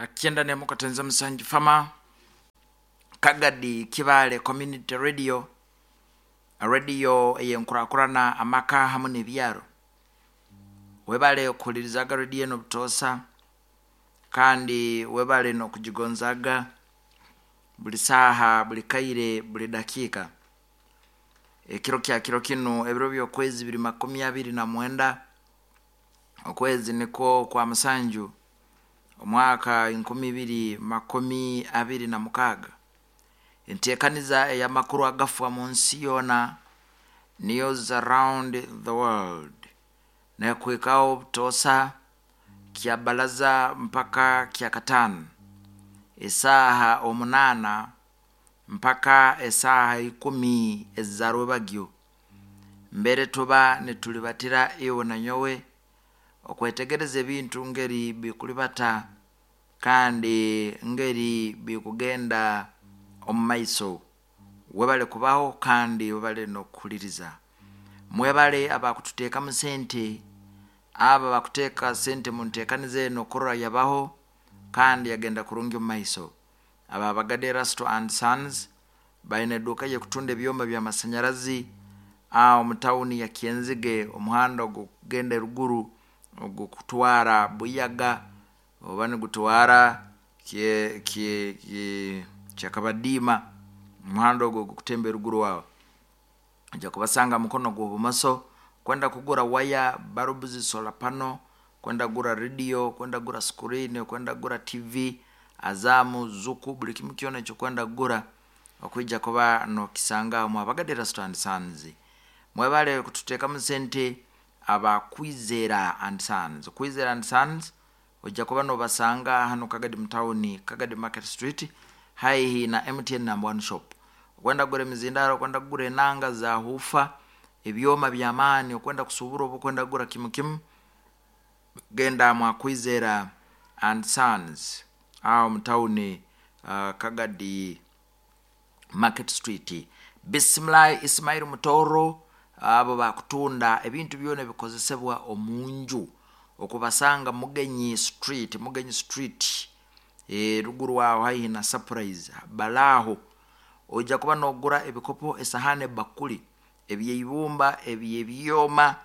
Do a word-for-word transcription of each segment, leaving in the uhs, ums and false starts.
Kyenda nemu katenza musanju fama Kagadi Kibale Community Radio, radio eyenkurakurana amaka hamu n'ebyaro. Webale kuhulirizaga radio eno butoosa, kandi webale n'okugigonzaga buli saaha, buli kaire, buli dakiika. Ekiro kya kiro kinu, ebiro by'okwezi biri makumi abiri na mwenda, okwezi nikwo kwa musanju, omwaka enkumi ibiri makumi abiri na mukaaga. Enteekaniza ey'amakuru agafa mu nsi yoona, News Around the World, nekuhikaho butoosa kya balaza mpaka kya kataano, esaaha omunaana mpaka esaaha ikumi ezarwebagyo. Mbere tuba nitulibatira iwe na nyowe okwetegereza ebintu ngeri bikulibata kandi ngeri bikugenda omu maiso. Webale kubaho kandi webale n'okuhuliriza. Mwebale abakututeekamu sente, abo abakuteeka sente mu nteekaniza eno kurora yabaho kandi yagenda kurungi omu maiso. Aba Bagade Erasto and Sons baine eduuka y'okutunda ebyoma by'amasanyarazi aho mu tawuni ya Kyenzige, omuhanda ogukugenda eruguru ogukutwara Buyaga oba nigutwara kye kye kye Kyakabadiima, omuhanda ogwo ogukutemba eruguru aho. Ojja kubasanga mukono gw'obumoso. Kwenda kugura waya, bulbs, solar panel, kwenda kugura radio, kwenda kugura screen, kwenda kugura T V, Azamu, Zuku, buli kimu kyona ekyokwenda kugura okwija kuba nokisanga mu Abagade Erasto and Sons. Mwebale kututeekamu sente aba Kwizera and Sons. Kwizera and Sons ojja kuba nobasanga hano Kagadi mu tawuni, Kagadi Market Street, haihi na M T N number one shop. Okwenda kugura emizindaro, okwenda kugura enanga za hufa, ebyoma by'amaani, okwenda kusubura oba okwenda kugura kimu kimu, genda mwa Kwizera and Sons aho mu tawuni, uh, Kagadi Market Street. Bisimilahi Ismail Mutoro, abo bakutunda ebintu byona ebikozesebwa omunju, okubasanga Mugenyi Street, Mugenyi Street, e, ruguru aho haihi na Surprise balaaho. Ojja kuba nogura ebikopo, esahani, ebakuli ebyeibumba, ebyebyoma,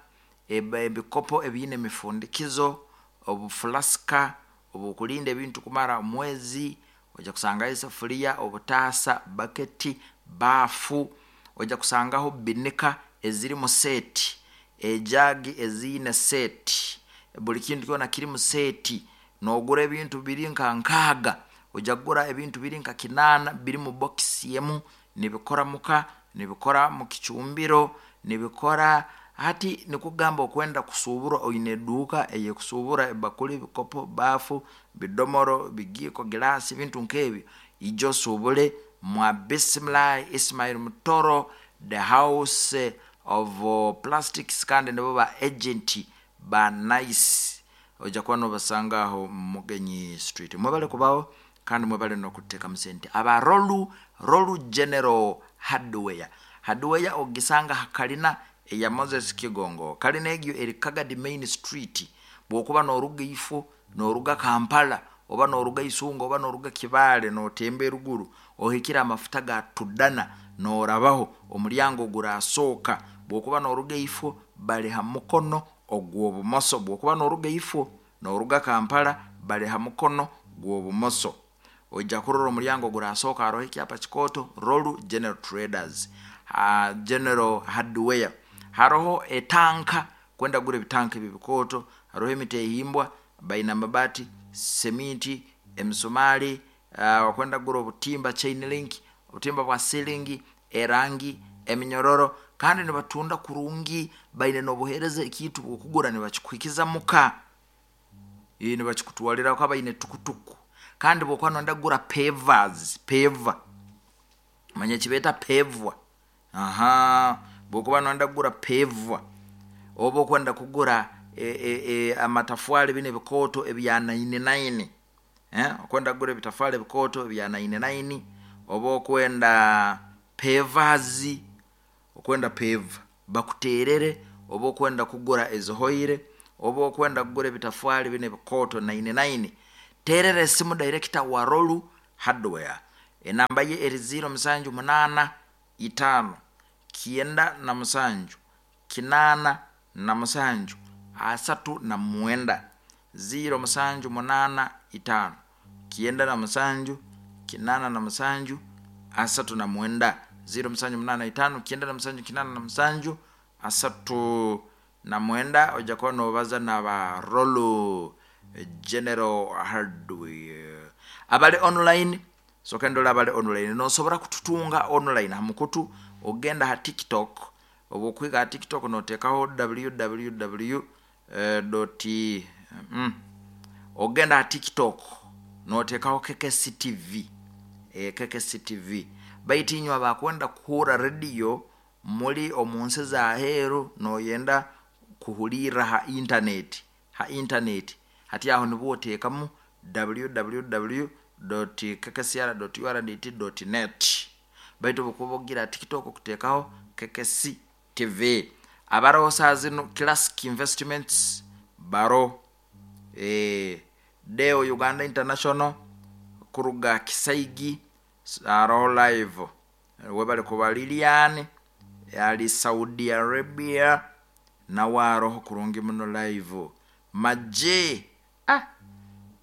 ebikopo ebiine emifundikizo, obufulasika obukulinda ebintu kumara omwezi. Ojja kusangaho esafuriya, obutaasa, baketi, baafu. Ojja kusangaho binika ezirimu seeti, ejagi eziine seeti, buli kintu kyona kirimu seeti. Nogura ebintu biri nka nkaaga, ojja kugura ebintu biri nka kinaana biri mu bokisi emu, nibikora muka, nibikora mu kicumbiro, nibikora. Hati nikugamba okwenda kusubura, oine eduuka eyekusuubura ebakuli, ebikopo, baafu, bidomoro, bigiiko, giraasi, ebintu nk'ebyo, ija osuubule mwa Bisimilahi Ismail Mutoro, the House of Plastics, kandi nibo ba agent ba Nice. Ojja kuba nobasanga aho Mugenyi Street. Mwebale kubaho kandi mwebale n'okuteekamu sente. Aba Rolu Rolu General Hardware, hardware ogisanga ha kalina eya Moses Kigongo. Kalina egyo eri Kagadi Main Street. Bwokuba noruga ifo, noruga Kampala, oba noruga Isunga, oba noruga Kibaale, notemba eruguru ohikire amafuta ga Tudana, norabaho omulyango gurasooka. Bwokuba noruga ifo, bali ha mukono ogw'obumoso. Bwokuba noruga ifo, noruga Kampala, bali ha mukono gw'obumoso. Ojja kurora omulyango gurasooka, haroho ekyapa kikooto, Rolu General Traders, uh, General Hardware. Haroho etanka, kwenda kugura ebitanka ebi bikooto. Haroho emitehimbwa, baina amabati, seminti, emisumali, uh, okwenda kugura obutimba, chain link, obutimba bwa ceiling, erangi, eminyororo. Kandi nibatunda kurungi, baine n'obuheereza, ekintu bwokugura nibakikuhikiza muka, nibakikutwalira ko baine tukutuku. Kandi bwokuba noyenda kugura pavers, paver, manya kibeeta pavwa, aha, bwokuba noyenda kugura pavwa, oba okwenda kugura e, e, e, amatafwali bino ebikooto ebya nine nine, eh? Okwenda kugura ebitafwali ebikooto ebya nine nine, oba okwenda pavers, okwenda paver bakuterere, oba okwenda kugura ezihoire, oba okwenda kugura ebitafwali bino ebikooto nine nine, Terera esimu director wa Rolu Hardware, enamba ye eri ziro musanju munana itano kienda na musanju kinana na musanju asatu na mwenda. Ziro musanju munana itano kienda na musanju kinana na musanju asatu na mwenda. Ziro musanju munana itano kienda na musanju kinana na musanju asatu na mwenda. Ojja kuba nobaza naba Rolu General Hardware abali online. Soka ndola abali online, nosobora kututunga online hamukutu ogenda ha TikTok. Obwokwiga ha TikTok notekaho www dot mm, ogenda ha TikTok notekaho K K C T V, e, K K C T V. Baitu inywe abakwenda kuhura radio muri omunsi za heru noyenda kuhulira ha internet, ha internet hati aho nibwo otekamu www dot k k c r dot u r d t dot net. Baitu bukuba ogira TikTok kutekaho K K C T V. Abaroho saa zino Classic Investments baro, e, Deo Uganda International kuruga Kisaigi aroho live. Webale kuba Lilian ali Saudi Arabia nawe aroho kurungi muno live. Maje ah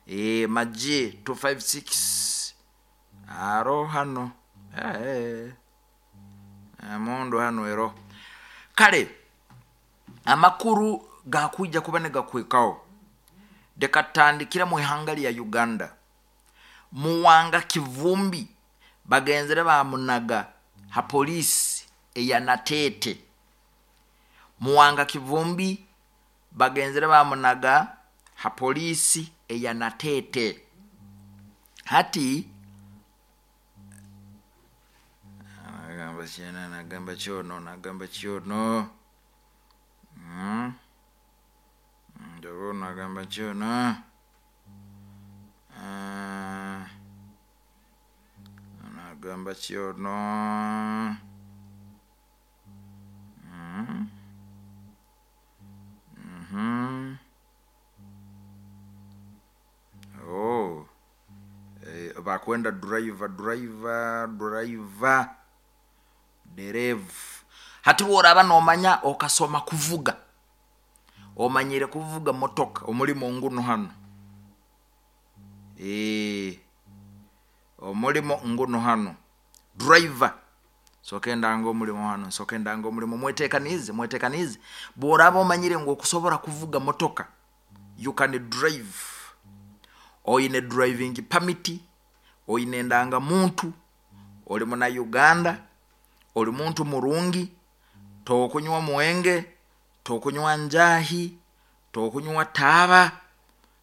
e, Maje two five six aro hano eh eh mundu hano ero. Kale amakuru gakuja kuba negakwekao dekatandikira mu ihanga lya Uganda. Muwanga Kivumbi bagenzere bamunaga ha polisi eya Natete. Muwanga Kivumbi bagenzere bamunaga ha polisi eya Natete. Hati nagamba kyena, nagamba kyono, nagamba kyono. Mm. Ndobo nagamba kyono. Uh, nagamba kyono. Mm. Mhm. Oh. Eh, bakwenda driver, driver, driver. Derevu. Hati woraba nomanya okasoma kuvuga. Omanyire kuvuga motoka omulimo nguno hano. Eh, omulimo nguno hano. Driver. Sokenda ngo omulimo hano, sokenda ngo omulimo mwetekanize, mwetekanize. Bworaba omanyire ngo okusobora kuvuga motoka, you can drive. Oyine driving permit, oyine ndanga muntu, oli muna Uganda, oli muntu murungi, tokunywa mwenge, tokunywa njahi, tokunywa taba,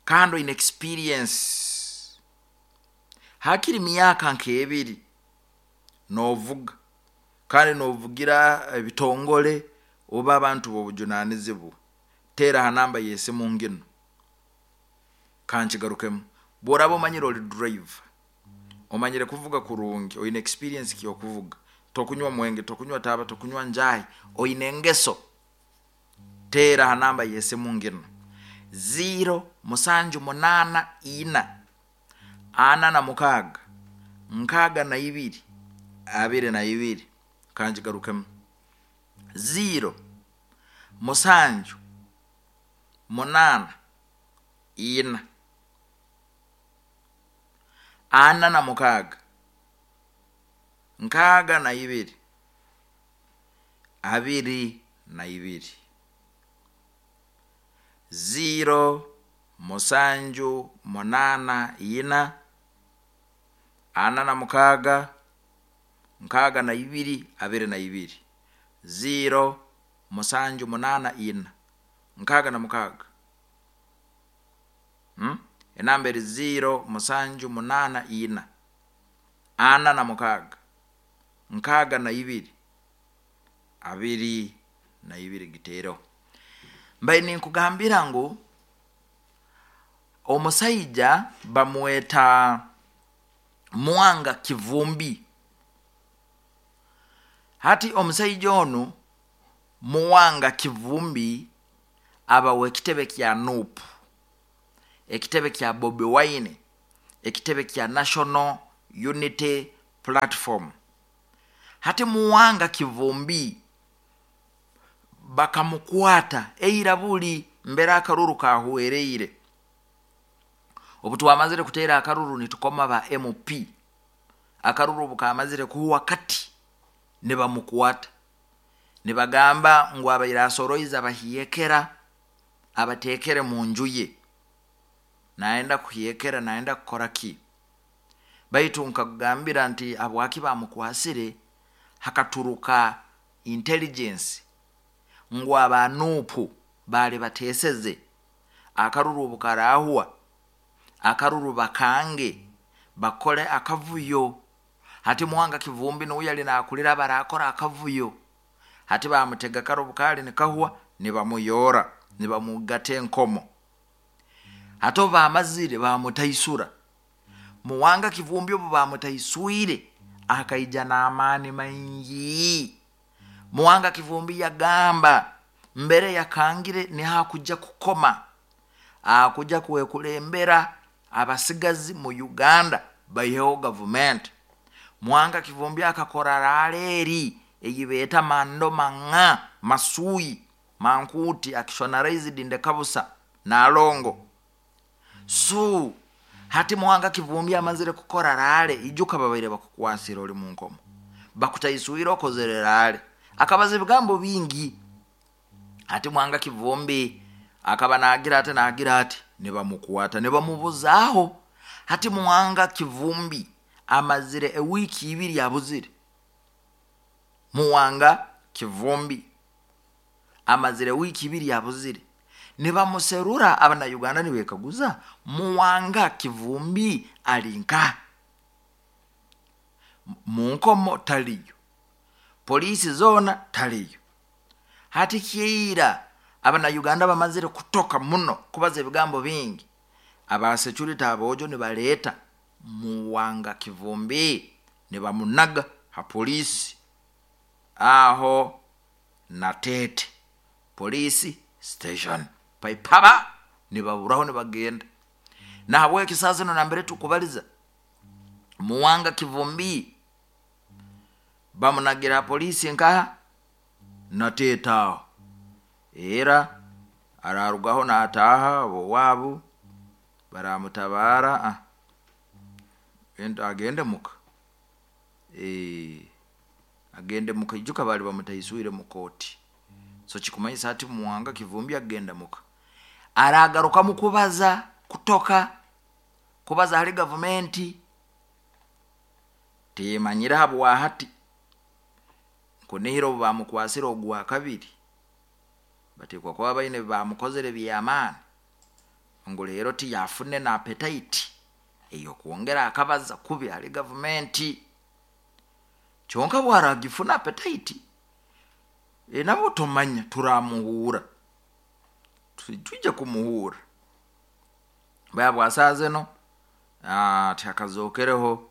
kandi oyine experience. Hakiri myaka nk'ebiri novuga, kandi novugira ebitongole oba abantu b'obujunanizibwa. Tera ha namba y'esimu ngino kankigarukemu. Bworaba omanyire oli driver, omanyire kuvuga kurungi, oyine experience ky'okuvuga, tokunywa mwenge, tokunywa taba, tokunywa njahi, oyine engeso, tera ha namba y'esimu ngino zero musanju munana ina ana na mukaga nkaga na ibiri abiri na ibiri. Kankigarukemu zero musanju munana ina ana na mukaga nkaga na ibiri abiri na ibiri. Zero musanju munana ina ana na mukaga nkaga na ibiri abiri na ibiri. Zero musanju munana ina nkaga na mukaga. Hmm? Enamba eri zero musanju munana ina ana na mukaga nkaga na ibiri abiri na ibiri gitero. Mbaye ninkugambira ngu omusaija bamweta Muwanga Kivumbi. Hati omusaija onu Muwanga Kivumbi aba wekitebe kya N U P, ekitebe kya Bobi Wine. Ekitebe kya National Unity Platform. Hati Muwanga Kivumbi bakamukwata eira buli mbere akaruru kahwereire. Obu twamazire kuteera akaruru nitukoma ba M P, akaruru obu kamazire kuhwa kati nibamukwata, nibagamba ngu abaire asoroize abahiekera abatekere mu nju ye, naenda kuhiekera, naenda kukora ki. Baitu nkakugambira nti habwaki bamukwasire, hakaturuka intelligence ngu abanupu bali bateseze akaruru obukarahwa, akaruru bakange bakole akavuyo. Hati Muwanga Kivumbi nuwe yali nakulira barakora akavuyo, hati bamutega karo bukali nikahwa nibamuyora nibamugata enkomo. Hati bamazire bamutaisura. Muwanga Kivumbi obu bamutaiswire akaija n'amaani maingi. Muwanga Kivumbi yagamba mbere yakangire nihakuja kukoma, akuja kwekulembera abasigazi mu Uganda baiheho gavumenti. Muwanga Kivumbi akakora raleeri eyibeeta mando manga masuyi mankuti actionalized ndekabusa nalongo. So hati Muwanga Kivumbi amazire kukora rale, ijuka babaire bakukwasira oli mu nkomo, bakutaiswire okozere rale, akabaza ebigambo bingi. Hati Muwanga Kivumbi akaba nagira ati nagira ati nibamukwata nibamubuzaho. Hati Muwanga Kivumbi amazire ewiki ibiri abuzire. Muwanga Kivumbi amazire wiki ibiri abuzire, nibamuserura. Abana Uganda nibekaguza Muwanga Kivumbi alinka munkomo taliyo, polisi zona taliyo. Hati kiira abana Uganda bamazire kutoka muno kubaza ebigambo bingi, aba security abojo nibaleta Muwanga Kivumbi nibamunaga ha polisi aho Natete polisi station paipaba, nibaburaho nibagenda. Na habweki sasa no nambere tukubaliza Muwanga Kivumbi bamunagira polisi nkaha Natete aho, era ararugaho nataha abo wabu baramutabara, ah, agende muka. Eh, agende muka, ijuka bali bamutaiswire mu koti. So kikumanyisa ati Muwanga Kivumbi agenda muka, aragaruka mu kubaza kutoka kubaza hali gavumenti timanyira habwa hati kunihira obu bamukwasira ogwa kabiri batekwa kuba baine bamukozere byamaani ngu leero tiyafune na appetite eyo kwongera akabaza kubi hali gavumenti. Kyonka bwaragifuna appetite e, nabo tomanya turamuhura, tujja kumuhura baya bwasaze no takazokereho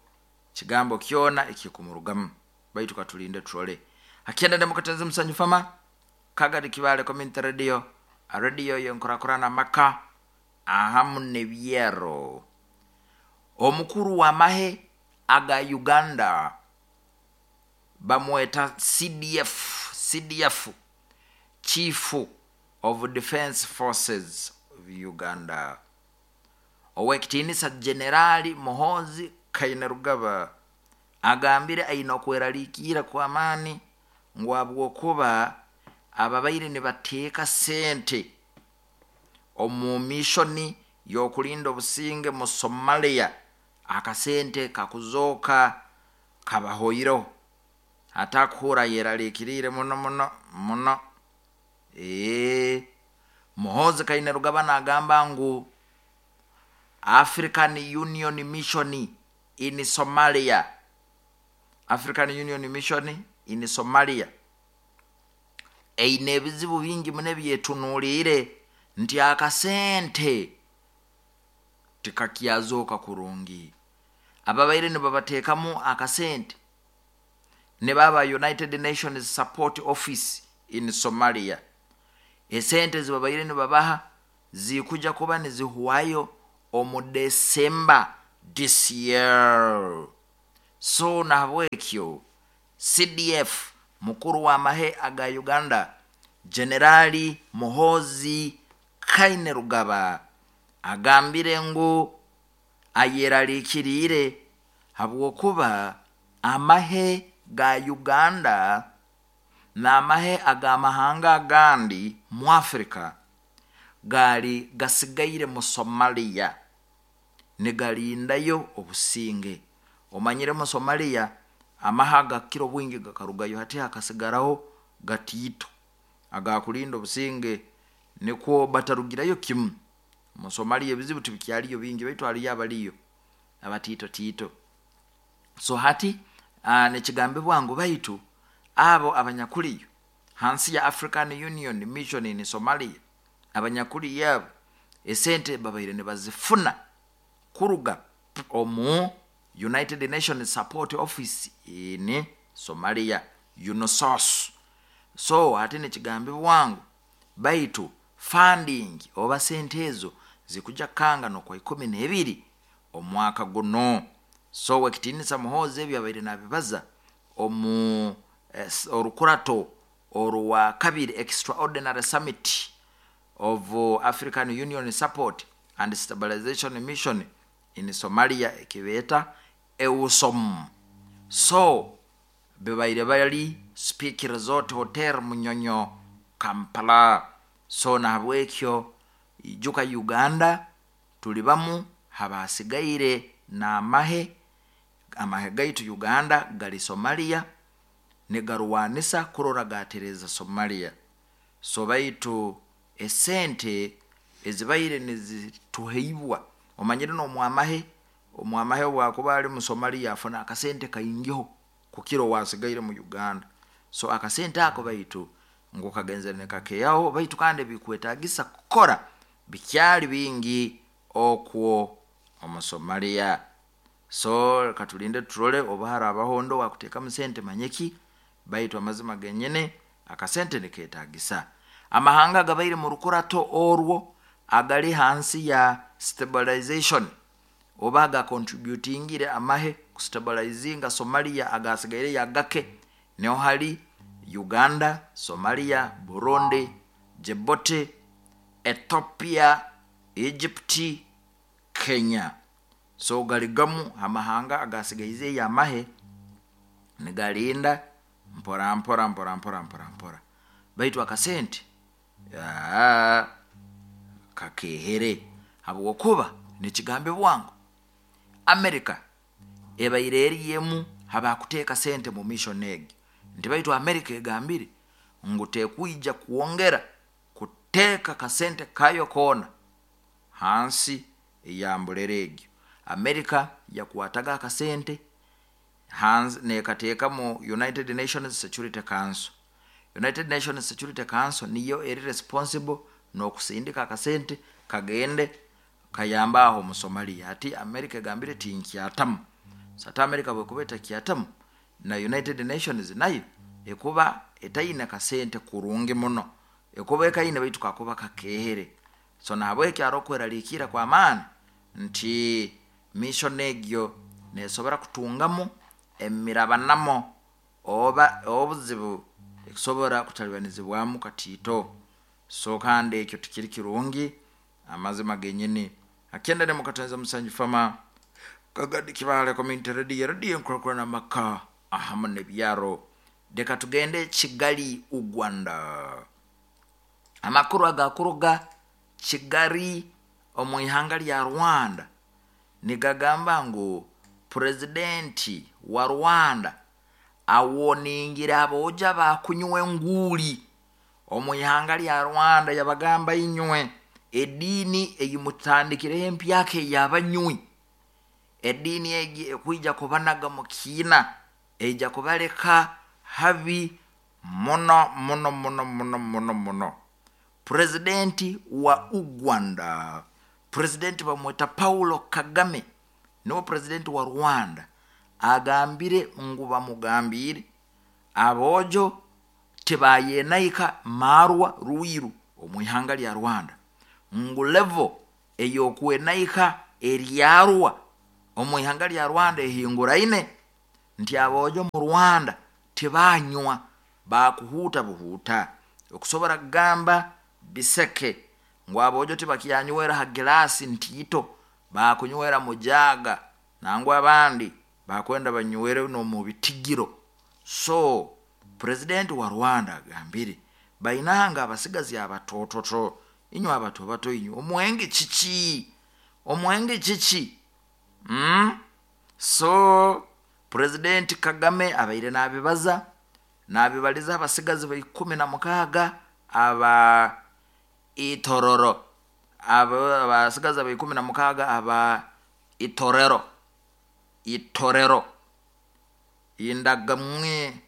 kigambo kyona ekikumurugamu, baitu katulinde turole. Akienda demokatenzi musanyu fama Kagadi Kibale Community Radio, radio yenkurakurana maka ahamu nebyero. Omukuru wa mahe aga Uganda bamweta C D F, C D F, Chief of Defense Forces of Uganda, Owekitinisa Generali Muhoozi Kainerugaba agambire aina okweraliikira kwa maani ngu habwokuba ababaire nibateeka sente omu mishoni y'okulinda obusinge mu Somalia, akasente kakuzooka kabahoireho, atakuhura yeraliikiriire muno muno muno. Ee, Muhoozi Kainerugaba nagamba ngu African Union Mission in Somalia, African Union Mission in Somalia eine ebizibu bingi muno ebyetunuulire nti akasente tikakyazoka kurungi. Ababaire nibabateekamu akasente ne baba United Nations Support Office in Somalia, esente zibabaire nibabaha zikuja kuba nizihwayo omu December this year. So nahabwekyo C D F mukuru wa mahe aga Uganda Generali Muhoozi Kainerugaba agambire ngu ayeraliikiriire habwokuba amahe ga Uganda n'amahe ag'amahanga agandi mu Afrika gaali gasigaire mu Somalia nigalindayo obusinge. Omanyire mu Somalia amahe agakira obwingi gakarugayo, hati hakasigaraho gatiito agakulinda obusinge, nikwo batarugirayo kimu. Mu Somalia ebizibu tibikyaliyo bingi, baitu haliyo abaliyo abatiito tiito. So hati nekigambibwa ngu baitu abo abanyakuliyo hansi ya African Union Mission in Somalia, abanyakuliyo abo esente babaire nibazifuna kuruga omu United Nations Support Office in Somalia, UNOSOS. So hati nekigambibwa ngu baitu funding oba sente ezo zikuja kanga nokwa ikumi n'ebiri omwaka guno. So wekitinisa Muhoozi ebyo abaire nabibaza omu eh, orukurato orwa kabiri Extraordinary Summit of African Union Support and Stabilization Mission in Somalia ekibeeta EUSOM. So bibaire bali Speke Resort Hotel Munyonyo Kampala. So nahabwekyo ijuka Uganda tuli bamu habasigaire n'amahe, amahe gaitu Uganda gali Somalia nigarwanisa kurora gatereza Somalia. So baitu esente ezibaire nizituheibwa, omanyire n'omwamahe, omwamahe bwakuba ali mu Somalia afuna akasente kaingiho kukira owasigaire mu Uganda. So akasente ako baitu ngu kagenzere nikakeyaho, baitu kandi bikwetagisa kukora bikyali bingi okwo omu Somalia. So katulinde turole oba harabaho ndo wakuteekamu sente manyeki, baitu amazima genyene akasente niketagisa. Amahanga gabaire mu rukurato orwo agali hansi ya stabilization oba gakontributingire amahe kustabilizinga Somalia agasigaire yagake, niho hari Uganda, Somalia, Burundi, Djibouti, Ethiopia, Egypt, Kenya. So galigamu amahanga agasigaize yamahe nigalinda mpora mpora mpora mpora mpora mpora, baitu akasente kakehere habwokuba nekigambe bwangu America ebaire eriyemu habakuteeka sente mu mission egi nti baitu America egambire ngu tekuija kuongera kuteeka kasente kayo koona hansi eyambulere egyo. America yakwataga akasente hansi nekateeka mu United Nations Security Council. United Nations Security Council niyo eri responsible n'okusindika akasente kagende kayamba aho mu Somalia. Ati America egambire tinkyatamu. Sata America bwekuba etakyatamu na United Nations nayo ekuba etaine kasente kurungi muno, ekuba ekaine baitu kakuba kakehere. So nahabwekyo arokweraliikira kwa maani nti mission egyo nesobora kutungamu emirabanamo oba obuzibu ekusobora kutalibanizibwamu katiito. So kandi ekyo tikiri kirungi amazima genyini. Akendere mukatonza musanju fama Kagadi Kibale Community Radio, radio nkurakurana maka ahamu n'ebyaro. Reka tugende Kigali Uganda. Amakuru agakuruga Kigali omu ihanga lya Rwanda nigagamba ngu presidenti wa Rwanda awoningira aboja bakunywa enguuli omu ihanga lya Rwanda. Yabagamba inywe eddiini eyimutandikireho empyaka ey'abanywi, eddiini egi ekwija kubanaga mu kiina, eija kubaleka habi muno muno muno muno muno muno. Presidenti wa Uganda, presidenti bamweta Paulo Kagame, niwe presidenti wa Rwanda, agambire ngu bamugambire abojo tibayenaika marwa ruiru omu ihanga lya Rwanda, ngu level ey'okwenaika eryarwa Omu ihanga lya Rwanda ehinguraine nti aboojo mu Rwanda tibanywa, bakuhuuta buhuuta. Okusobora kugamba biseke ngu aboojo tibakyanywera ha gilaasi ntiito, bakunywera mu jaaga, nangwa abandi bakwenda banywere n'omu bitigiro. So president wa Rwanda agambire bainanga abasigazi abatototo, inywe abato bato, inywe omwenge kiki, omwenge kiki? Mm? So president Kagame abaire nabibaza, nabibaliza abasigazi ba ikumi na mukaaga aba Itororo, aba abasigazi aba ikumi na mukaaga aba Itorero, Itorero indagamwe,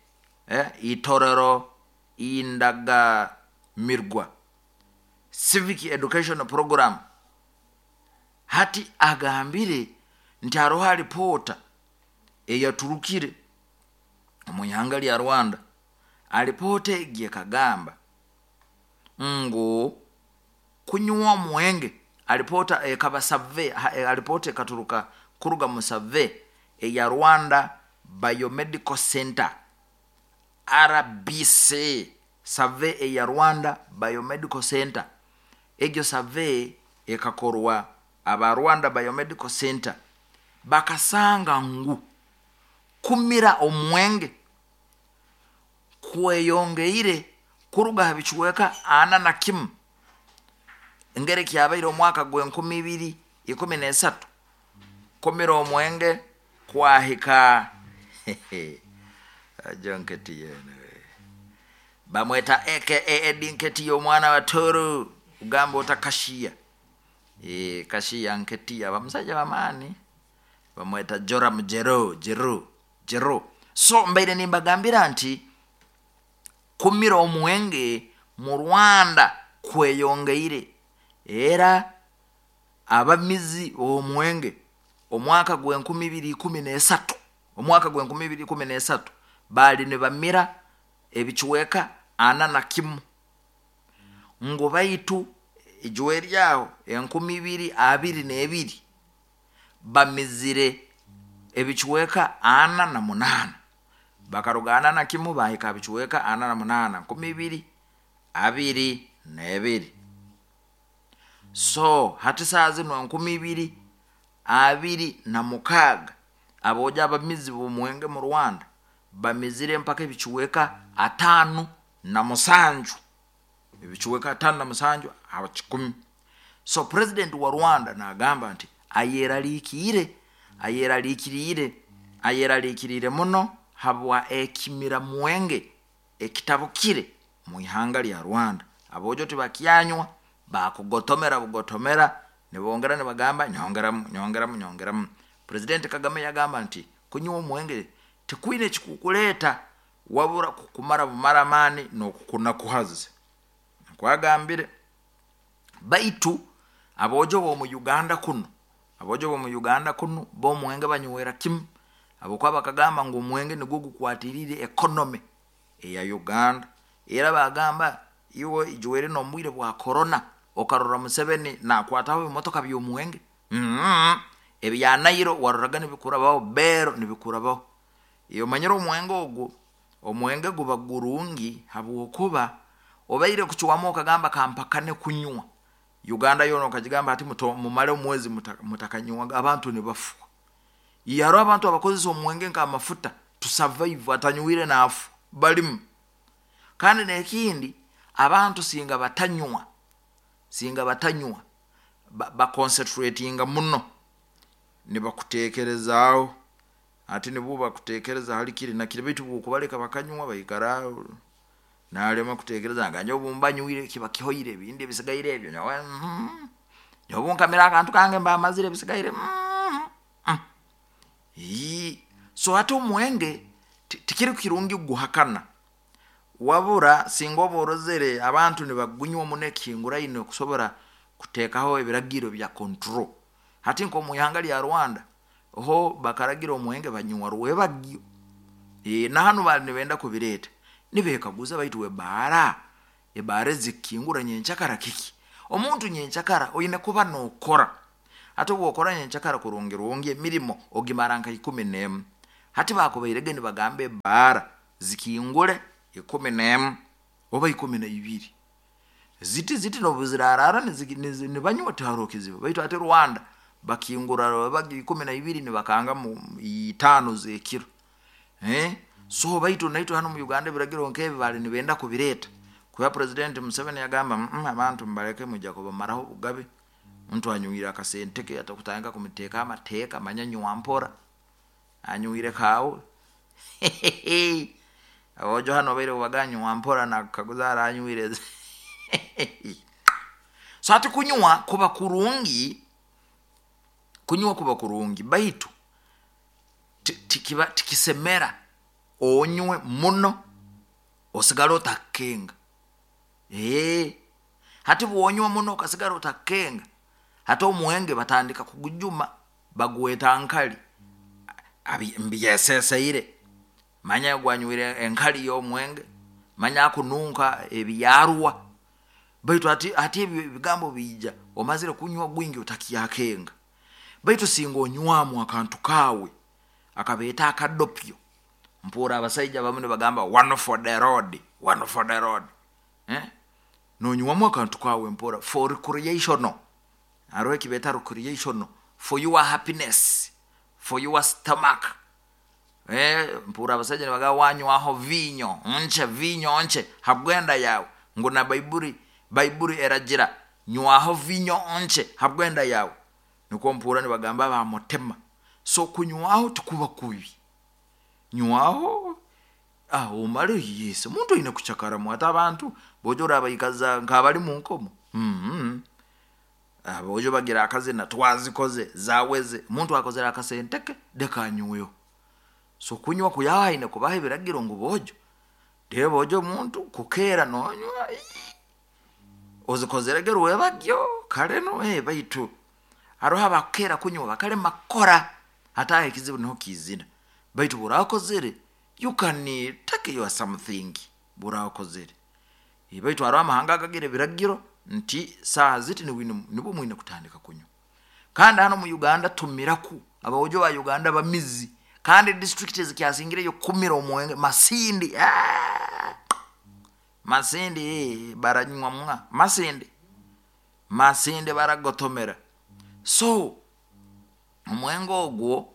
eh, Itorero Indagamirwa Civic Education Program. Hati agambire nti haroho alipoota eyaturukire omu ihanga lya Rwanda. Alipoota egi ekagamba ngu kunywa omwenge, alipoota ekaba survey, alipoota ekaturuka kuruga mu survey eya Rwanda Biomedical Center R B C, survey eya Rwanda Biomedical Center. Egyo survey ekakorwa aba Rwanda Biomedical Center, bakasanga ngu kumira omwenge kweyongeire kuruga ha bicweka ana na kimu engeri kyabaire omwaka gw'enkumi ibiri ikumi n'esatu, kumira omwenge kwahika ajonketi yene bamweta aka Eddy Nketiah omwana wa Tooro, ugamba otakashiya e, kashiya Nketiah bamusajja bamaani bamweta Joram Jero Jero Jero. So mbaire nimbagambira nti kumira omwenge mu Rwanda kweyongeire, era abamizi b'omwenge omwaka gw'enkumi ibiri ikumi n'esatu, omwaka gw'enkumi ibiri ikumi n'esatu baali nibamira ebicweka ana na kimu, ngu baitu ijwe eryaho enkumi ibiri abiri n'ebiri bamizire ebicweka ana na munaana, bakaruga ana na kimu bahika bicweka ana na munaana, nkumi ibiri abiri n'ebiri. So hati saa zino enkumi ibiri abiri na mukaaga aboojo abamizi b'omwenge mu Rwanda bamizire mpaka ebicweka ataano na musanju, ebicweka ataano na musanju aba kikumi. So president wa Rwanda nagamba nti ayeraliikiriire, ayeraliikiriire, ayeraliikiriire muno habwa ekimira mwenge ekitabukire mu ihanga lya Rwanda. Aboojo tibakyanywa, bakugotomera bugotomera, nibongera nibagamba nyongeramu, nyongeramu, nyongeramu. President Kagame yagamba nti kunywa omwenge tikwine ekikukuleeta wabura kukumara bumara amaani n'okukunakuhaza, nkwagambire. Baitu aboojo b'omu Uganda kuno, aboojo b'omu Uganda kuno b'omwenge banywera kimu, habwokuba bakagamba ngu omwenge nigwo gukwatiriire economy eya Uganda. Era bagamba iwe ijwere n'obwire bwa corona okarora Museveni nakwataho ebimotoka by'omwenge, mm-hmm. Ebya Nairo waroraga nibikurabaho, bero nibikurabaho. Iyo omanyire omwenge ogwo, omwenge guba gurungi habwokuba obaire kucwamu okagamba kampakane kunywa. Uganda yoona okagigamba ati mumale omwezi mutakanywaga, abantu nibafwa. Yaro abantu abakozesa omwenge nk'amafuta to survive, atanywire naafa balimu. Kandi n'ekindi abantu singa batanywa, singa batanywa baconcentratinga muno, nibakutekerezaaho ati nibo bakutekereza hali kiri na kiri, baitu bwokubaleka bakanywa baikara nalema kutekereza nga nyowe bumba nywire kiba kihoire, ebindi ebisigaire ebyo nyowe mm, nyowe bunkamira akantu kange mba mazire ebisigaire mm, mm. So hati omwenge tikiri kirungi guhakana, wabura singa oba orozere abantu nibagunywa muno ekihinguraine okusobora kuteekaho ebiragiro bya control. Hati nk'omu ihanga lya Rwanda ho bakaragira omwenge banywa rwebagyo, e, na hanu bali nibenda kubireeta nibekaguza baitu ebaara ebaara ezikingura nyenkyakara kiki? Omuntu nyenkyakara oine kuba nokora, Ate bwokora nyenkyakara kurungi rungi emirimo ogimara nka ikumi n'emu. Hati bakubairege nibagamba ebaara zikingule ikumi n'emu oba ikumi na ibiri, ziti ziti nobu zirarara nibanywa tiharoho kizibu. Baitu ate Rwanda bakingura bagi ikumi na ibiri nibakangamu itaano z'ekiro, eh so baitu naitwe hanu mu Uganda ebiragiro nkebi baali nibenda kubireeta, kuba President Museveni yagamba mm abantu mubaleke mwija kubamaraho obugabe. Omuntu anywire akasente ke atakutandika kumuteekaho amateeka, manya nywa mpora, anywire kaawe aboojo hanu obaire obaga nywa mpora nakukaguza aranywire. So hati kunywa kuba kurungi, kunywa kuba kurungi, baitu tikiba tikisemera onywe muno osigale otakukenga. Ee hati bwonywa muno okasigara otakukenga, hati omwenge batandika kugujuma bagweta nkali, mbyeseseire, manya ogu anywire enkali y'omwenge, manya akununka ebyarwa. Baitu hati hati ebi ebigambo biija omazire kunywa gwingi otakyakenga. Baitu singa onywamu akantu kaawe akabeeta akadopyo, mpurra abasaija abamu nibagamba one for the road, one for the road, eh nonywamu akantu kaawe mpora for recreational, haroho ekibeeta recreational for your happiness, for your stomach. Eh mpurra abasaija nibagamba wanywaho viinyo nkye, viinyo nkye habwenda yaawe, ngu na baiburi, baiburi eragira nywaho viinyo nkye habwenda yaawe, nikwo mpurra nibagamba ba mutima. So kunywaho tikuba kubi, nywaho ah omale, yes omuntu aine kucakaramu. Hati abantu bojo orabaikaza nk'abali mu nkomo, aboojo bagira akazina twazikoze zaweze, omuntu akozere akasente ke leka anyweho. So kunywa kuyaho haine kubaho ebiragiro ngu boojo, rero boojo omuntu kukeera nonywa, ozikozerege rwebagyo kare nu, baitu haroho abakukeera kunywa bakalema kukora, hati aho ekizibu niho kiizira. Baitu obu orakozere you can take your something obu orakozere. Baitu haroho amahanga agagira ebiragiro nti saaha ziti nibwo mwine kutandika kunywa. Kandi hanu mu Uganda tumiraku, aboojo ba Uganda bamizi, kandi district ezikyasingireyo kumira omwenge Masindi, Masindi baranywa mwa Masindi, Masindi baragotomera. So omwenge ogwo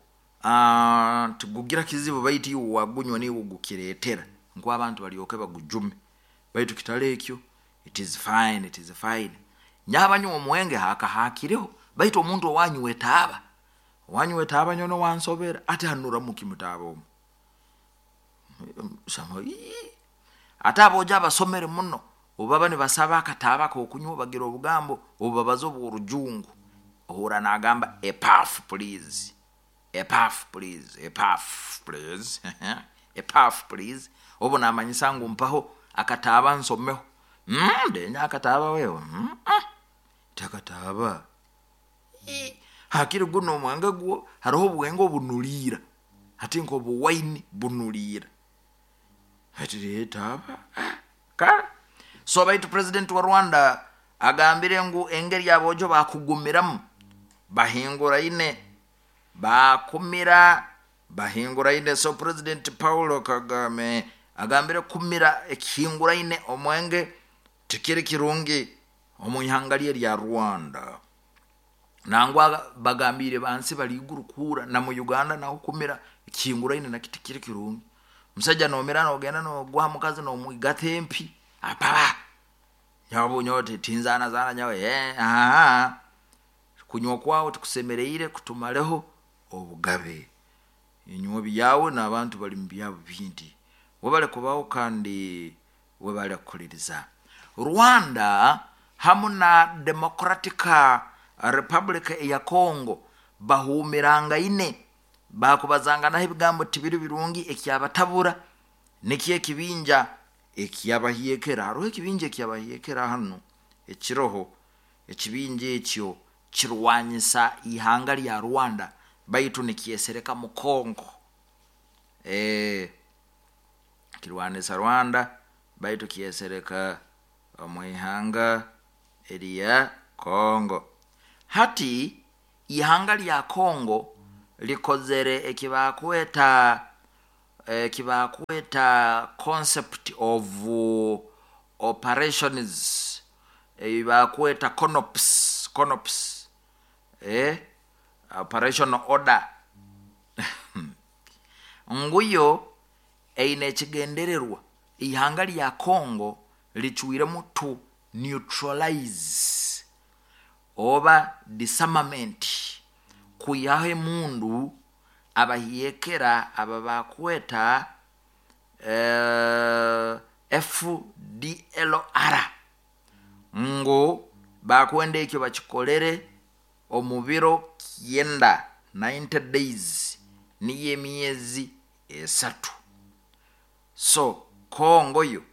tigugira kizibu, baitu iwe wagunywa niiwe ogukireetera ngu abantu balyoke bagujume, baitu kitali ekyo, it is fine, it is fine. Nyowe abanywa omwenge hakahakireho, baitu omuntu owanywa etaaba, owanywa etaaba nyowe niwansobera, ati hanuramu ki mutaaba omu, ate aboojo abasomere muno obu baba nibasaba akataaba ak'okunywa bagira obugambo obubabaza obw'orujungu, ohurra nagamba a puff please, a puff please, a puff please, a puff please, obu namanyisa ngu mpaho akataaba nsomeho, ndenya akataaba wewe, ti akataaba, hakiri guno omwenge gwo, haroho obwenge obunuliira, hati nk'obuwaini bunuliira, hati etaaba kale. So baitu president wa Rwanda agambire ngu engeri aboojo bakugumiramu bahinguraine, bakumira bahinguraine. So President Paul Kagame agambire kumira ekihinguraine omwenge tikiri kirungi omu ihanga lye erya Rwanda. Nangwa bagambire bansi bali iguru kuhurra na mu Uganda naho kumira ekihinguraine nakyo tikiri kirungi. Omusaija nomira nogenda nogwa mukazi nomwigata empi, apaba nyowe nyowe tinzaana nyowe, eh kunywa kwawe tikusemeriire kutumaleho obugabe. Inywe byawe n'abantu bali mu byabo bindi, webale kubaho kandi webale kukuliriza. Rwanda hamu na Democratic Republic eya Congo bahuumirangaine, bakubazanganaho ebigambo tibiri birungi, ekyabatabura nikyo ekibinja ekyabahyekera. Haroho ekibinja ekyabahyekera hanu ekiroho, ekibinja ekyo kirwanyisa ihanga lya Rwanda, baitu nikyesereka mu Congo, eh kirwanisa Rwanda baitu kyesereka omu ihanga erya Congo. Hati Ihanga lya Congo likozere ekibakweta ekibakweta concept of operations, ebibakweta conops conops eh, operation order nguyo eine ekigendererwa. Ihanga lya Congo licwiremu to neutralize oba disarmament, kwihaho emundu abahiyekera aba bakweta eh, F D L R, ngu bakwenda ekyo bakikolere omu biro kyenda, ninety days, niyo emyezi esatu. So Kongo yo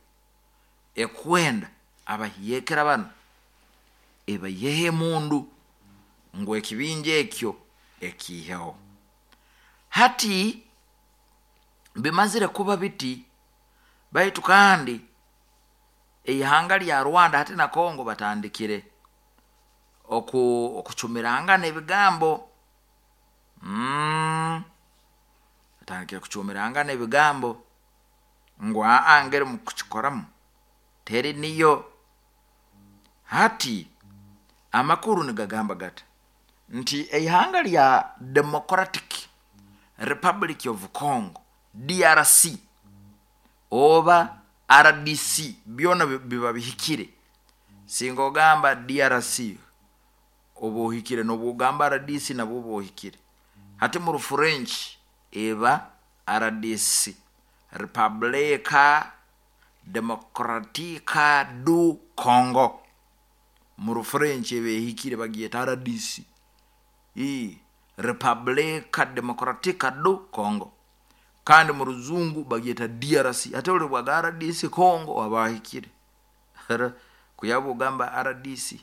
ekwenda abahiyekera bano ebaiheho emundu, ngu ekibinja ekyo ekiiheho. Hati bimazire kuba biti, baitu kandi eihanga lya Rwanda hati na Congo batandikire oku okucumirangana ebigambo, mm, batandikire kucumirangana ebigambo ngu aa, ngeri mukukikoramu teri niyo. Hati amakuru nigagamba gata nti eihanga lya Democratic Republic of Congo, D R C oba R D C, byona biba bihikire. Singa ogamba D R C oba ohikire, nobu ogamba R D C nabwo oba ohikire. Hati mu Rufurench eba R D C, Republika Democratica du Congo. Mu Rufurench eba ehikire, bagyeta R D C, I Republika Democratica du Congo, kandi mu Ruzungu bagyeta D R C. Ate oli bwaga R D C Congo aba ahikire, kuyaba ogamba R D C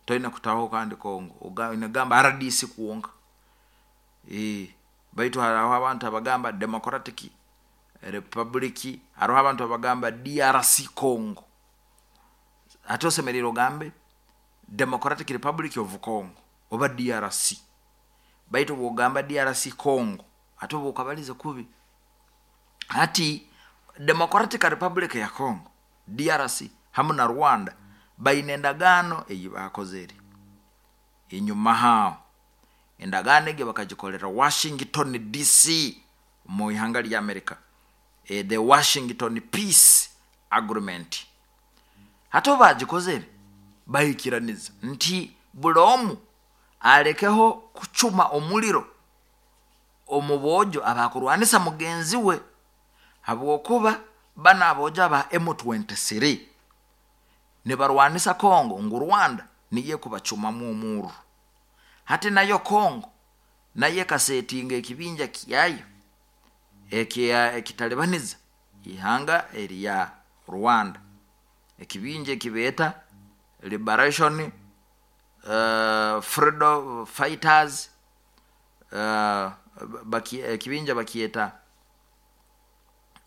toina kutaho kandi Congo, oina R D C kwonka. E, baitu hariho abantu abagamba Democratic Republic, hariho abantu abagamba D R C Congo. Ate osemeriire ogambe Democratic Republic of Congo oba D R C, baitu bwogamba D R C Congo ate oba okabalize kubi. Hati Democratic Republic ya Congo, D R C, hamu na Rwanda baine endagaano eyi bakozere enyuma haaho. Endagaano egi bakagikolera Washington D C mu ihanga lya America, e, the Washington Peace Agreement. Hati obu bagikozere bahikiraniza nti buli omu alekeho kucuma omuliro omu boojo abakurwanisa mugenzi we, habwokuba bano aboojo aba M twenty-three nibarwanisa Congo, ngu Rwanda niyo ekubacumamu omurro. Hati nayo Congo nayo ekasetinga ekibinja kyayo ekitalibaniza ihanga erya Rwanda, ekibinja ekibeeta Liberation uh, Freedom Fighters, uh, baki, ekibinja bakyeta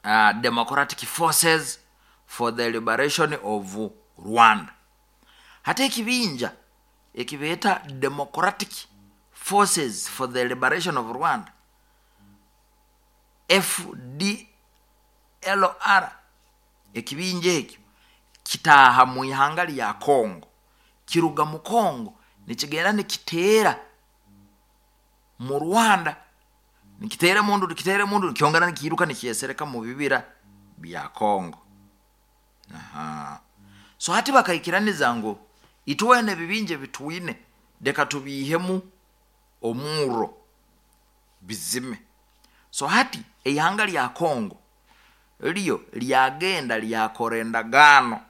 uh, Democratic Forces for the Liberation of Rwanda. Hati ekibinja ekibeeta Democratic Forces for the Liberation of Rwanda, F D L R, ekibinja ekyo kitaaha mu ihanga lya Congo, kiruga mu Congo nikigenda nikiteera mu Rwanda, nikiteera mundu, nikiteera mundu, nikyongera nikiiruka nikyesereka mu bibira bya Congo. Aha. So hati bakaikiraniza ngu itwena ebibinja bitwine leka tubiihemu omurro bizime. So hati eihanga lya Congo lyo lyagenda lyakora endagaano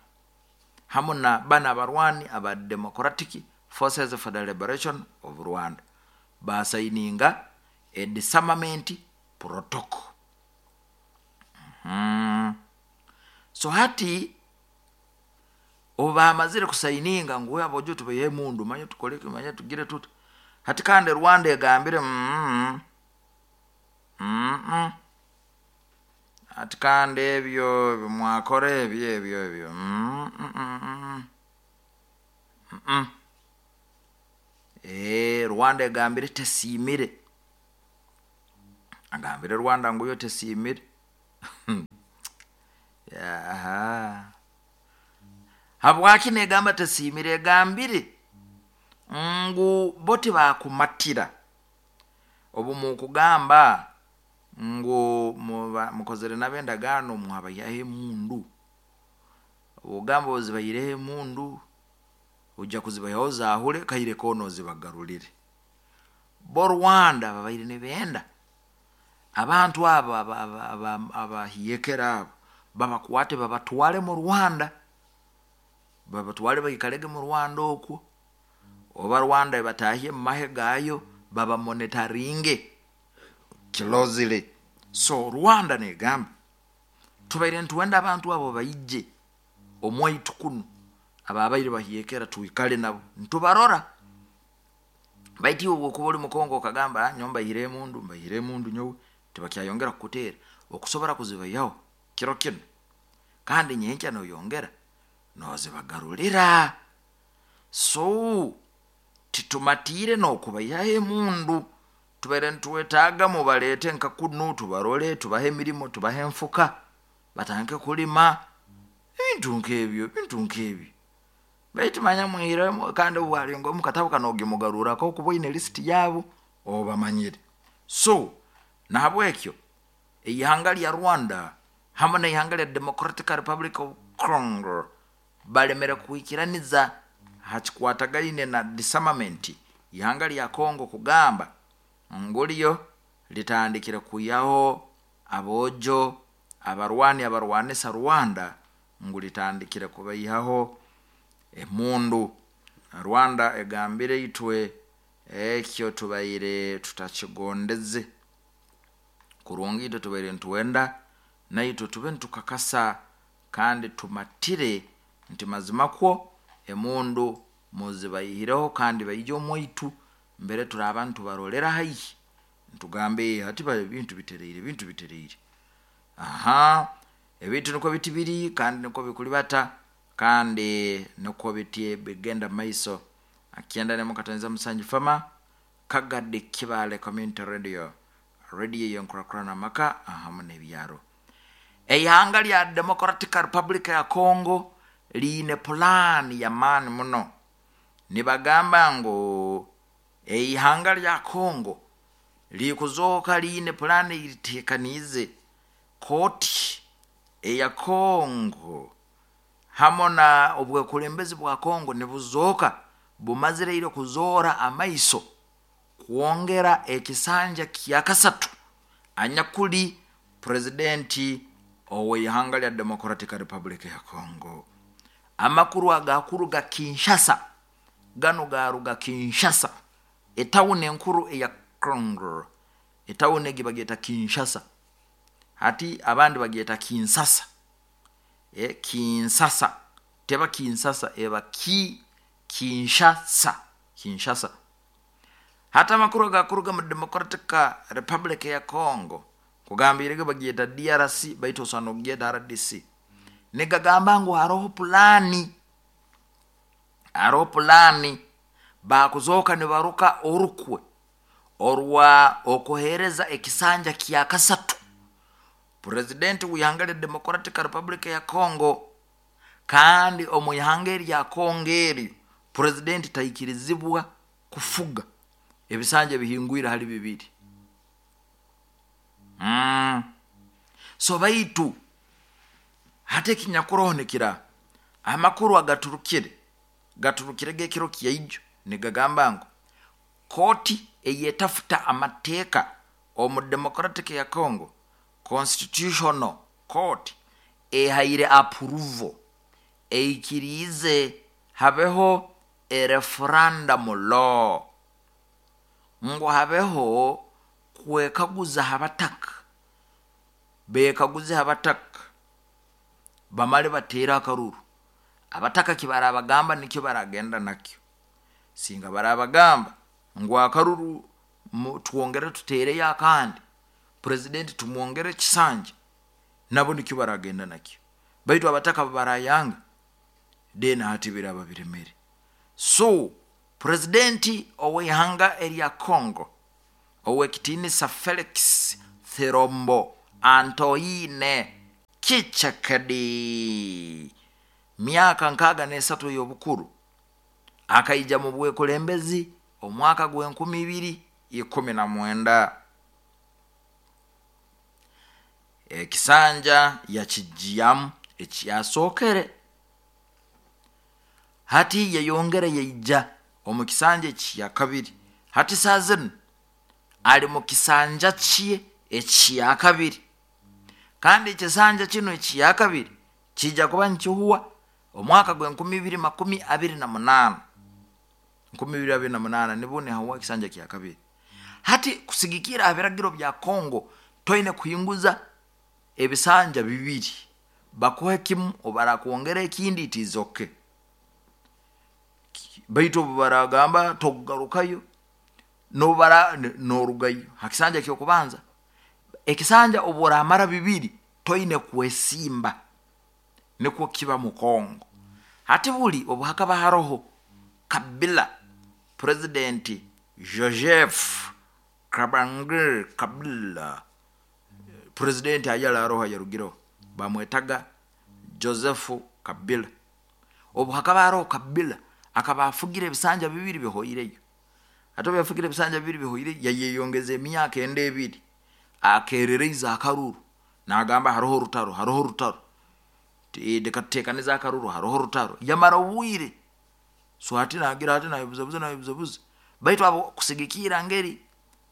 hamu na bana abarwani aba Democratic Forces for the Liberation of Rwanda, basayininga a disarmament protocol. mm. so hati obu bamazire kusayininga ngu abojo tubaihe mundu, manya tukole, manya tugire tuti, hati kandi Rwanda egambire mm mm -mm. Ati kandi ebyo mwakora ebyo ebyo ebyo mm -mm -mm. Mm. Eh, Rwanda egambire tesiimire, agambire Rwanda ngu yo tesiimire. Aha, habwaki negamba tesiimire? Egambire ngu bo tibakumatira obu mukugamba ngu mukozere nabo endagaano mwabayihaho emundu. Ogamba ozibaireho emundu, ojja kuzibahaho zahure kaire koona ozibagarulire. Bo Rwanda babaire nibenda abantu abo abahiyekera abo babakwate babatwale mu Rwanda, babatwale baikalege mu Rwanda okwo, oba Rwanda ebatahye mu mahe gaayo babamonitaringe closely. So Rwanda negamba tubaire nitwenda abantu abo baije omwaitu kunu, ababaire bahiyekera twikale nabo nitubarora. Baitu iwe obwokuba oli Mukongo okagamba nyowe mbaihire emundu, mbaihire emundu nyowe, tibakyayongera kukuteera, okusobora kuzibaihaho kiro kinu, kandi nyenkya noyongera nozibagarulira. So titumatiire n'okubaihaho emundu, tubaire nitwetaaga mubaleete nka kunu tubarole, tubahe emirimo, tubahe enfuka batandike kulima, ebintu nk'ebyo, ebintu nk'ebyo. Baitu manya mwihiremu, kandi obu alinga omu katabu kanu ogimugarurako kuba oine lisiti yaabo obamanyire. So nahabwekyo eihanga lya Rwanda hamu n'eihanga lya Democratic Republic of Congo balemere kwikiraniza ha kikwatagaine na disarmament. Ihanga lya Congo kugamba ngu ryo litandikire kwihaho aboojo abarwani abarwanisa Rwanda, ngu litandikire kubaihaho emundu. Rwanda egambire itwe ekyo tubaire tutakigondeze kurungi, itwe tubaire nitwenda naitwe tube nitukakasa kandi tumatire nti mazima kwo emundu muzibaihireho kandi baije omwaitu mbere turaaba nitubarolera haihi nitugambe hati ebintu bitereire, ebintu bitereire. Aha, ebintu nikwo biti biri kandi nikwo bikulibata kandi nikwo biti bigenda mumaiso. Akyenda nemu katoneza musanju Fama Kagadi Kibale Community Radio, radio y'enkurakurana amaka hamu n'ebyaro. Eihanga lya Democratic Republic ya Congo liine pulaani y'amaani muno. Nibagamba ngu eihanga lya Congo likuzooka liine pulaani eritekaniize. Kooti eya Congo hamu na obwekulembezi bwa Congo nibuzooka bumazireire kuzoora amaiso kwongera ekisanja kyakasatu anyakuli purezidenti ow'eihanga lya Democratic Republic ya Congo. Amakuru agakuruga Kinshasa, ganu garuga Kinshasa, etawuni enkuru eya Congo. Etawuni egi bagyeta Kinshasa, hati abandi bagyeta Kinsasa. E, Kinsasa teba Kinsasa, eba ki Kinshasa, Kinshasa. Hati amakuru agakuruga mu Democratic Republic ya Congo kugambirege bagyeta D R C, baitu osana okugyeta R D C, nigagamba ngu haroho pulani, haroho pulani bakuzooka nibaruka orukwe orwa okuhereza ekisanja kya kasatu purezidenti w'ihanga lya Democratic Republic ya Congo. Kandi omu ihanga erya Congo eryo purezidenti taikirizibwa kufuga ebisanja bihingwire hali bibiri. Mm. So baitu hati ekinyakuroho nikira amakuru agaturukire gaturukire gekiro kyaijo nigagamba ngu kooti eyetafuta amateeka omu Democratic ya Congo, Constitutional Court, ehaire approval eikiriize habeho ereferendum law, ngu habeho kwekaguza habataka, bekaguze habataka bamale bateera akaruru. Abataka kibarabagamba nikyo baragenda nakyo, singa barabagamba ngu akaruru twongere tuteereyo akandi, purezidenti tumwongere ekisanja, nabo nikyo baragenda nakyo. Baitu abataka barayanga then hati biraba biremere. So Purezidenti ow'ihanga erya Congo ow'ekitiinisa Felix Tshilombo Antoine Tshisekedi, myaka nkaaga n'esatu ey'obukuru, akaija mu bwekulembezi omwaka gw'enkumi ibiri ikumi na mwenda. Ekisanja yakigyamu ekyasookere, hati yayongera yaija omu kisanja ekya kabiri. Hati saa zinu ali mu kisanja kye ekya kabiri, kandi ekisanja kinu ekya kabiri kijja kuba nikihuwa omwaka gw'enkumi ibiri makumi abiri na munaana. Nkumi ibiri abiri na munaana nibwo nihahuwa ekisanja kya kabiri. Hati kusigikira ha biragiro bya Kongo, toine kuhinguza ebisanja bibiri, bakuhe kimu obarakwongera ekindi itizoke. Baitu obu baragamba tokugarukayo, nobara norugayo ha kisanja ky'okubanza. Ekisanja obu oramara bibiri toine kwesimba, nikwo kiba mu Kongo. Hati buli obu hakaba haroho Kabila, purezidenti Joseph Kabange Kabila, purezidenti ayali aroho ayarugireho bamwetaga Joseph Kabila. Obu hakaba haroho Kabila, akaba afugire ebisanja bibiri bihoireyo. Hati obu yafugire ebisanja bibiri bihoireyo, yayeyongeza emyaka endi ebiri, akereraize akaruru nagamba haroho orutaro, haroho orutaro, leka tutekanize akaruru, haroho orutaro. Yamara obwire, so hati nagira ati nayebuzabuza nayebuzabuza, baitu abo kusigikira ngeri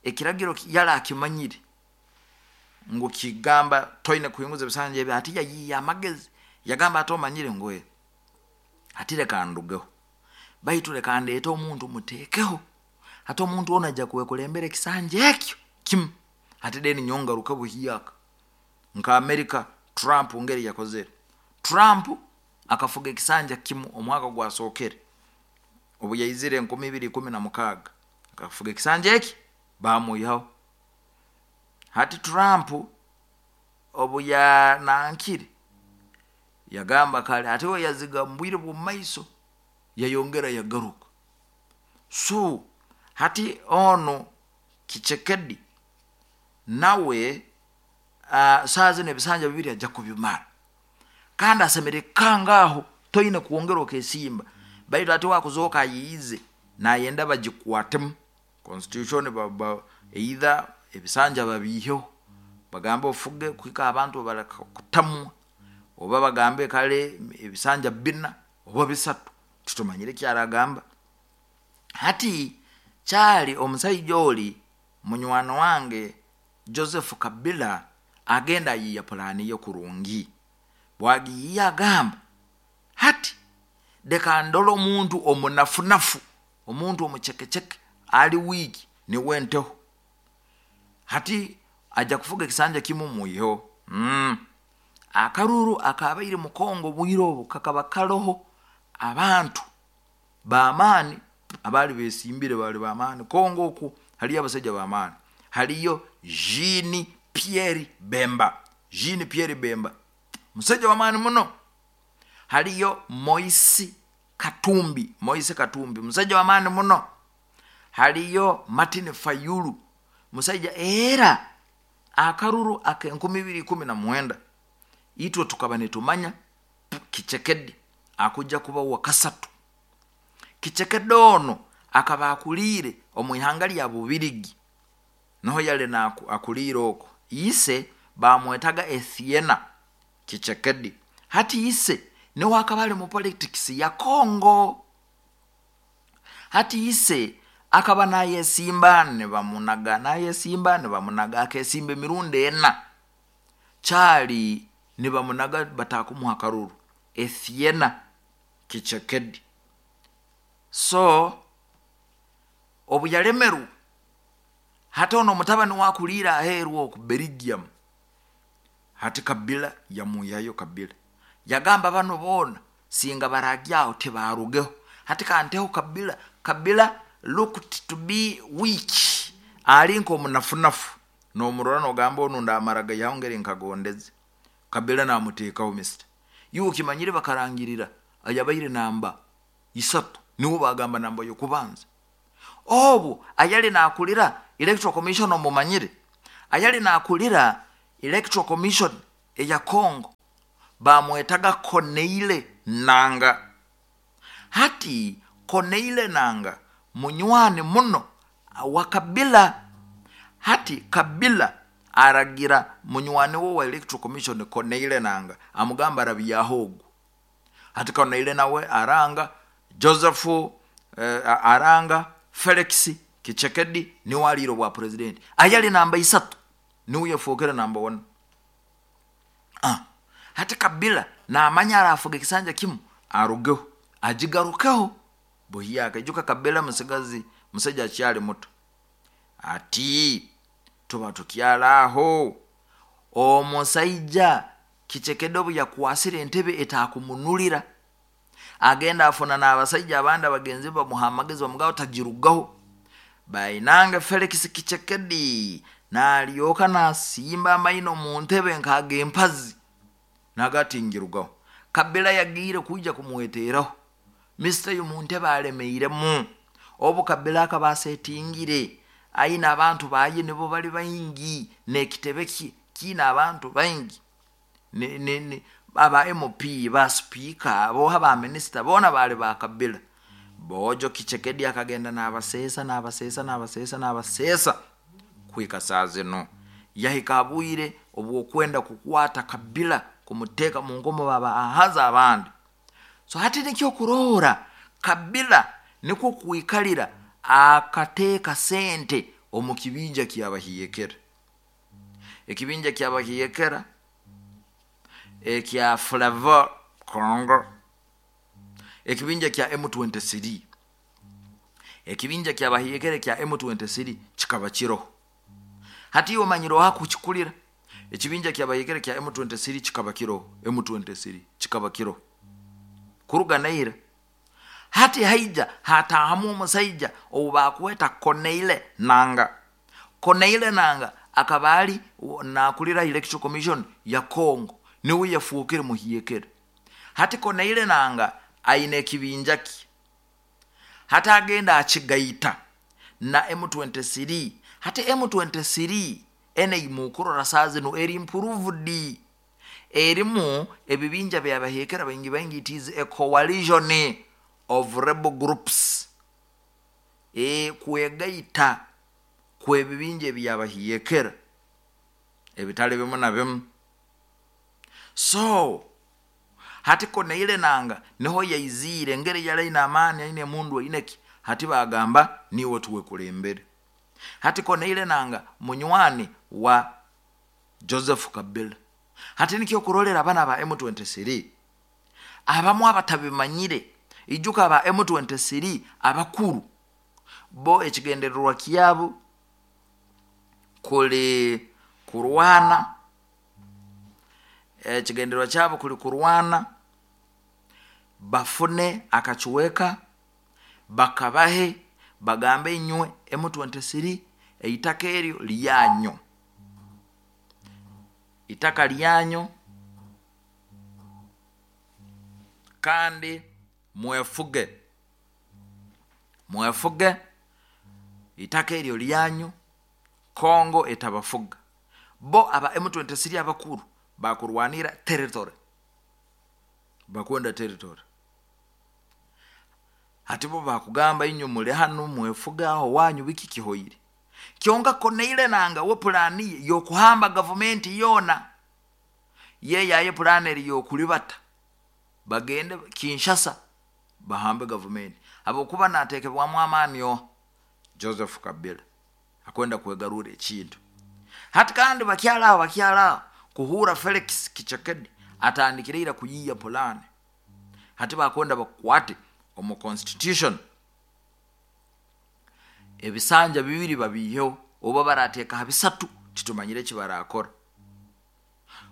ekiragiro yali akimanyire ngu kigamba toine kuhinguza ebisanja ebi. Hati yayiiya amagezi, yagamba ati omanyire ngu hati leka ndugeho, baitu leka ndeete omuntu muteekeho. Hati omuntu onu ajja kwekulembera ekisanja ekyo kimu, hati then nyowe ngaruke buhyaka. Nka Amerika, Trump ngeri yakozere. Trump akafuga ekisanja kimu omwaka gwasookere obu yaizire enkumi ibiri ikumi na mukaaga, akafuga ekisanja eki bamwihaho. Hati Trump obu yanankire yagamba kale, hati we yaziga mu bwire bw'omu maiso yayongera yagaruka. So hati onu Tshisekedi nawe uh, saa zinu ebisanja bibiri ajja kubimara, kandi asemeriire kukanga aho, toine kwongera okesimba. Baitu ati wakuzooka ayiize nayenda bagikwatemu constitution, ba, ba, either ebisanja babiiheho bagambe ofuge kuhika abantu bareka kutamwa, oba bagambe kale ebisanja bina oba bisatu, titumanyire ekyaragamba. Hati kyali omusaija oli munywani wange Joseph Kabila agenda ayiiya pulaani ye kurungi. Bwagiyiiya agamba hati leka ndole omuntu omunafunafu, omuntu omucekeceke ali wiiki niwe nteho. Hati ajja kufuga ekisanja kimu mwiheho. mm. Akaruru akabaire mu Kongo obwire obu kakaba karoho abantu b'amaani abaali besimbire, baali b'amaani. Kongo oku haliyo abasaija b'amaani, haliyo Jean Pierre Bemba. Jean Pierre Bemba musaija w'amaani muno. Haliyo Moise Katumbi, Moise Katumbi musaija w'amaani muno. Haliyo Martin Fayulu musaija. Era akaruru ak'enkumi ibiri ikumi na mwenda itwe tukaba nitumanya Tshisekedi akujja kuba wa kasatu. Tshisekedi ono akaba akuliire omu ihanga lya Bubirigi, niho yali akuliire oko. Ise bamwetaga Etienne Tshisekedi. Hati ise niwe akaba ali mu politics ya Congo. Hati ise akaba nayesimba nibamunaga, nayesimba nibamunaga, akesimba emirundi ena, kyali nibamunaga batakumuha akaruru Etienne Tshisekedi. So obu yalemerwe, hati ono omutabani wakuliire aheeru oku Belgium, hati Kabila yamwihayo. Kabila yagamba bano boona singa baragyaho tibarugeho, hati kanteho Kabila. Kabila looked to be weak, ali nk'omunafunafu, nomurora nogamba onu ndamara gaihaho ngeri nkagondeze. Kabila namuteekaho. Mister, iwe okimanyire bakarangirira ayabaire namba isatu. Niwo bagamba namba y'okubanza. Obu ayali nakulira Electoral Commission, omumanyire, ayali nakulira Electoral Commission eya Congo bamwetaga Corneille Nanga. Hati Corneille Nanga munywani muno wa Kabila. Hati Kabila aragira munywani we wa Electoral Commission Corneille Nanga, amugamba arabyaho ogu. Hati Corneille nawe aranga Joseph, eh, aranga Felix Tshisekedi niwe aliire obwa president. Ayali namba isatu niwe yafookere namba one. Ah, hati Kabila namanya arafuga ekisanja kimu arugeho agigarukeho buhyaka. Ijuka Kabila musigazi, musaija akyali muto. Ati tuba tukyalaaho omusaija Tshisekedi obu yakwasire entebe etakumunulira, agenda afuna n'abasaija abandi abagenzi bamuha amagezi, bamugamba tagirugaho. Bainange Felix Tshisekedi nalyoka nasimba amaino mu ntebe nk'agempazi nagati ngirugaho. Kabila yagiire kwija kumweteraho mister yu mu ntebe alemeiremu. Obu Kabila akaba asetingire aine abantu baye nibo bali baingi, n'ekitebe kye kiine abantu baingi, ni, ni, ni, aba M P, ba speaker, boha ba minister bona bali ba Kabila. Bojo Tshisekedi akagenda n'abaseesa n'abaseesa n'abaseesa n'abaseesa kwika saa zino yahika abwire obwokwenda kukwata Kabila kumuteeka mu nkomo baba ahaza abandi. So hati nikyo kurora Kabila nikwo kwikalira akateeka sente omu kibinja kyabahiyekera. Ekibinja kyabahiyekera ekya Flavor Congo, ekibinja kya M twenty-three, ekibinja kyabahiyekera kya M twenty-three kikaba kiroho. Hati iwe omanyire oha kukikulira. Ekibinja kyabahiyekera kya M twenty-three kikaba kiroho, M twenty-three kikaba kiroho kuruga naira. Hati haija hatahamu omusaija obu bakweta Corneille Nanga. Corneille Nanga akaba ali nakulira Electoral Commission ya Congo, niwe yafuukire muhiyekera. Hati Corneille Nanga aine ekibinja kye, hati agenda akigaita na M twenty-three. Hati M twenty-three ene imukurora saa zino eri improved, erimu ebibinja byabahekera baingi baingi. It is a coalition of rebel groups, e kwegaita kwebibinja ebyabahiyekera ebitali bimu na bimu. So hati Corneille Nanga niho yaizire ngeri yalaina amaani aine mundu aineki. Hati bagamba niwe tuwekulembere. Hati Corneille Nanga munywani wa Joseph Kabila. Hati nikyo kurolera abana ba M twenty-three abamu abatabimanyire. Ijuka aba M twenty-three abakuru bo ekigendererwa kyabo kuli kurwana, ekigendererwa kyabo kuli kurwana bafune akakiweka bakabahe bagambe inywe M twenty-three eitaka eryo lyanyu, itaka lyanyu kandi mwefuge, mwefuge itaka eryo lyanyu, Kongo etabafuga. Bo aba M twenty-three abakuru bakurwanira territory, bakwenda territory. Hati bo bakugamba inyu muli hano mwefuga aho wanyu biki kihoire. Kyonka Corneille Nanga we plani yokuhamba government yona ye yaye plani eri yokulibata bagende Kinshasa bahambe government. Abokuba natekebwamu amaani yo Joseph Kabila akwenda kwegarura ekintu. Hati kandi bakyala bakyala kuhura Felix Tshisekedi atandikirira kuyiya plani. Hati bakwenda bakwate omu constitution ebisanja bibiri babiheho oba barateka ha bisatu titumanyire kibarakora.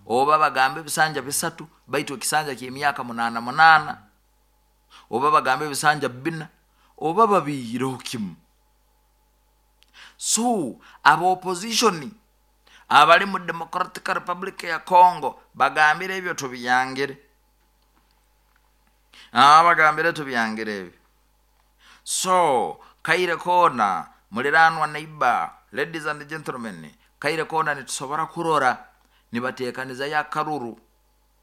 Oba bagambe ebisanja bisatu baitu ekisanja ky'emyaka munana munana, oba bagambe ebisanja bina, oba babihireho kimu. So aba opposition abali mu Democratic Republic ya Congo bagambire ebyo tubiyangire, ah, bagambire tubiyangire ebyo. So kaire koona muliranwa neighbor, ladies and gentlemen, kaire koona nitusobora kurora nibateekanizayo akaruru.